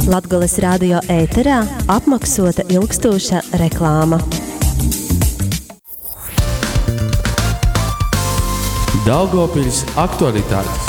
Latgales radio ēterā apmaksota ilgstoša reklāma. Daugavpils aktualitātes.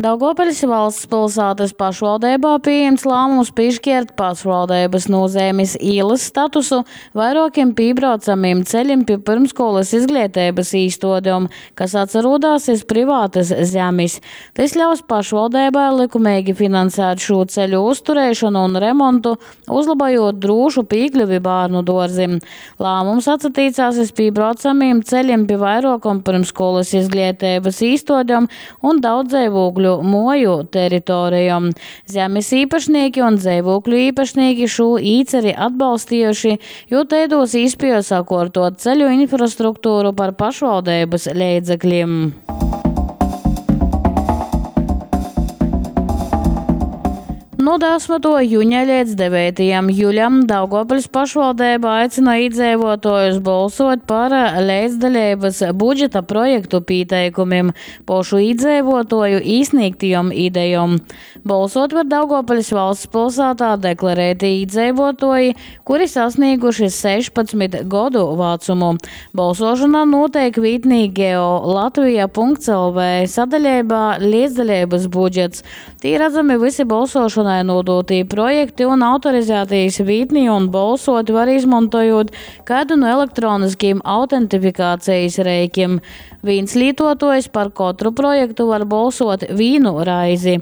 Daugavpiļs valsts pilsātas pašvaldībā pieņemts lēmums piešķirt pašvaldības nozīmes ielas statusu vairokiem pībraucamiem ceļiem pie pirmskolas izglītības īstodēm, kas atsarodās iz privātas zemes. Tas ļaus pašvaldībai likumīgi finansēt šo ceļu uzturēšanu un remontu, uzlabojot drošu piekļuvi bērnu dārzim. Lēmums atsatīcās iz pībraucamiem ceļiem pie vairokom pirmskolas izglītības īstodēm un daudzdzīvokļu moju teritorijom. Zemes īpašnieki un dzīvokļu īpašnieki šo īceri atbalstījuši, jo te dos īspēju sakortot ceļu infrastruktūru par pašvaldības līdzekļiem. No 10. jūņa līdz 9. jūļam Daugavpils pašvaldība aicina iedzīvotājus balsot par līdzdalības budžeta projektu pieteikumiem, pošu iedzīvotāju īsniegtajām idejām. Balsot var Daugavpils valsts pilsētā deklarēti iedzīvotāji, kuri sasnieguši 16 gadu vecumu. Balsošana notiek vītnī geolatvija.lv sadaļībā līdzdalības budžets. Tī redzami visi balsošanai nodotī projekti un autorizētīs vītnī un balsot var izmantojot kādu no elektroniskiem autentifikācijas reikiem. Viens lietotājs par katru projektu var balsot vienu reizi.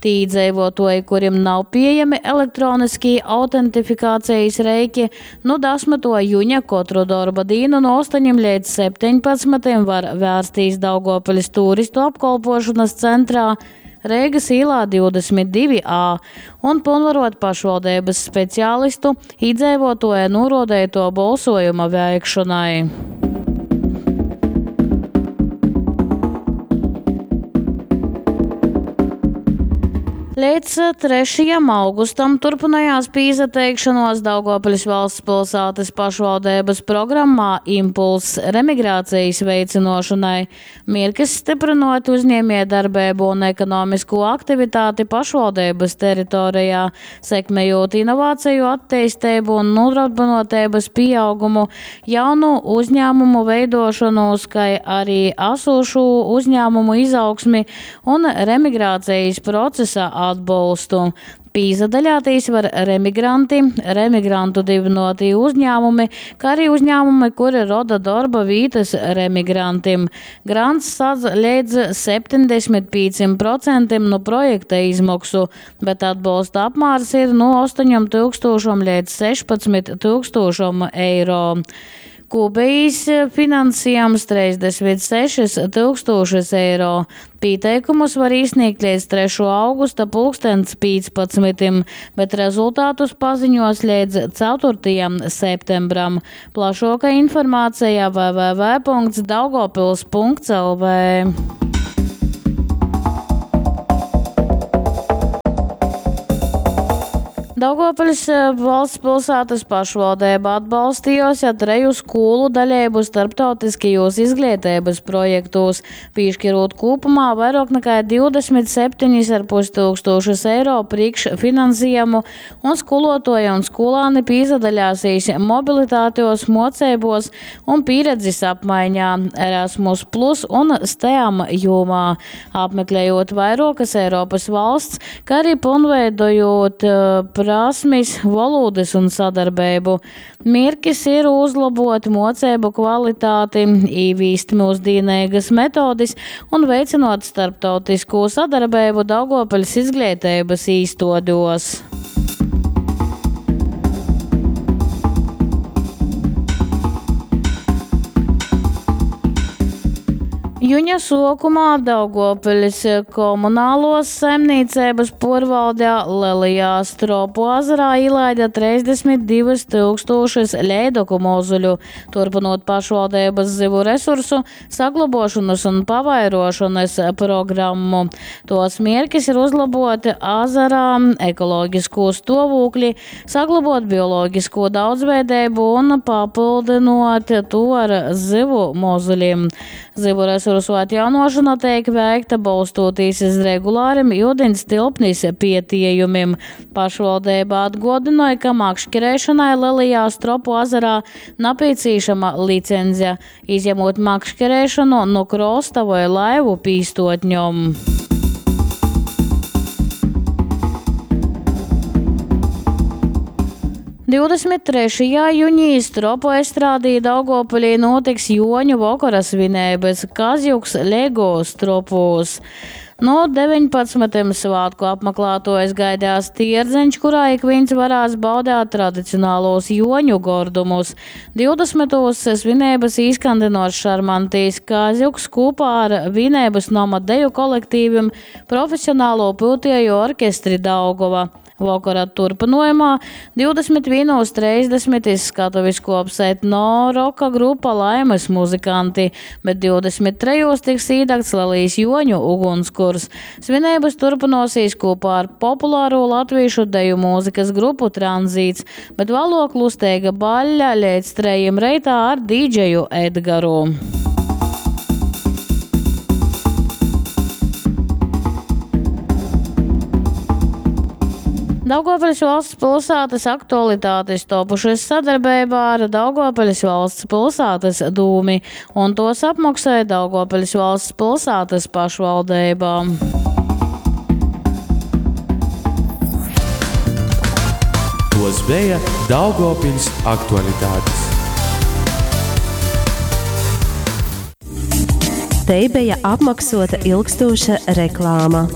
Tī iedzīvotāji, kuriem nav pieejami elektroniskie autentifikācijas reiki, no 10. jūņa katru darba dienu no 8 līdz 17 var vērsties Daugavpils turistu apkalpošanas centrā Reigas ielā 22A un pilnvarot pašvaldības speciālistu iedzīvotāja norodēto balsojuma veikšanai. Līdz 3. augustam turpinājās pīzateikšanos Daugavpils valsts pilsētas pašvaldības programmā Impuls remigrācijas veicinošanai. Mierkis stiprinot uzņēmējdarbību un ekonomisko aktivitāti pašvaldības teritorijā, sekmējot inovāciju attīstību un nodarbinotības pieaugumu, jaunu uzņēmumu veidošanos, kā arī esošu uzņēmumu izaugsmi un remigrācijas procesa atbalstu. Pīzadaļātīs var remigranti, remigrantu dibinotī uzņēmumi, kā arī uzņēmumi, kuri roda darba vietas remigrantiem. Grants sadz līdz 75% no projekta izmaksu, bet atbalsta apmērs ir no 8 000 līdz 16 000 eiro. Kopējais finansējums 36 000 eiro. Pieteikumus var iesniegt līdz 3. augusta pulkstens 15, bet rezultātus paziņos līdz 4. septembram. Plašāka informācija www.daugavpils.lv. Daugavpils valsts pilsētas pašvaldība atbalstījusi treju skolu daļību starptautiskajos izglītības projektos, piešķirot kopumā vairāk nekā 27,5 tūkstošus eiro priekšfinansējumu, un skolotāji un skolāni pīzadaļāsīs mobilitātejos, mocībos un pieredzes apmaiņā Erasmus Plus un STEAM jomā, apmeklējot vairākas Eiropas valsts, kā arī pilnveidojot prasmes, valodas un sadarbību. Mērķis ir uzlabot mocību kvalitāti, īvīst mūsdienīgas metodes un veicinot starptautisko sadarbību Daugavpils izglītības īstodos. Juņa sokumā Daugavpils komunālos saimniecības porvaldē Lielajā Stropu ezerā ielaida 32 tūkstošus leidoku mozuļu, turpinot pašvaldības zivu resursu saglabošanas un pavairošanas programmu. Tos mērķis ir uzlabot ezerā ekoloģisko stāvokli, saglabot bioloģisko daudzveidību un papildinot to ar zivu mozuļiem. Zivu resursu Resursu atjaunuošona teik veikta, bolstūtīs iz regulārim iudiņs tilpnis pietiejumim. Pašvaldeiba atguodynoj, ka makškerēšonai Lelajā Stropu azarā napīcīšama licenze, izjamūt makškerēšonu nu krosta voi laivu pīstuotņom. 23. junī Stropu estrādī Daugavpilī nūtiks Juoņu vokora svineibys Kazjuks Lego Stropūs. Nu 19. Svātku apmaklātuojus gaidās tierdzeņš, kurā ikvīns varēs baudēt tradicionālos Juoņu gordumus. 20. svineibys īskandynuos šarmantīs Kazjuks kūpā ar Vīneibys noma deju kolektivim, profesionālo pyutieju orkestri Daugova. Vokora turpynojumā 21.30 iz skatuvis kuops etno roka grupa Laimas muzykanti, bet 23. tiks īdegts lelīs Juoņu ugunskurs. Svineibys turpynuosīs kūpā ar popularū latvīšu deju mūzikas grupu Tranzīts, bet vāluok lusteiga baļļa leidz trejim reitā ar dīdžeju Edgaru. Daugovpiļs valsts pilsētas aktualitātes topušas sadarbeibā ar Daugovpiļs valsts pilsētas dūmi, un tos apmaksāja Daugovpiļs valsts pilsētas pašvaldība. Tos bija Daugovpiļs aktualitātes. Te bija apmaksota ilgstoša reklāma.